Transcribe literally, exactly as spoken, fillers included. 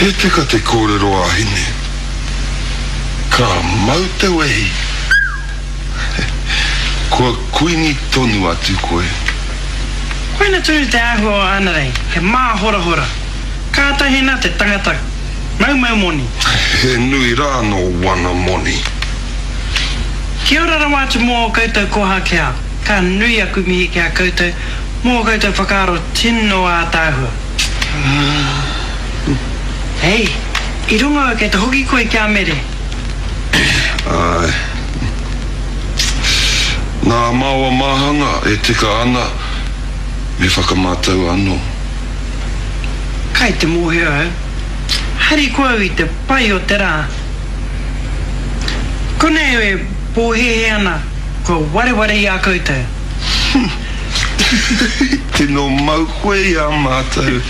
He tika te kōrero a Hine. Ka mau te wehi. Kua kuini tonu atu koe. Koina tonu te āhua o Anarei, he māhorahora. Kātahi nā te tangata maumau moni. He nui rā nō wana moni. Kia ora rawa atu mō ō koutou koha ki a. Ka nui aku mihi ki a koutou mō ō koutou whakaaro tino ātaahua. Hei, i rongo au kei te hoki koe ki a Mere. Āe. Nā Maoa Māhanga e tika ana me whakamātau anō. Kai te mōhio au. Harikoa au i te pai o te rā. Konei au e pōhēhē ana kua wareware i a koutou. Tino mau koe i a mātou.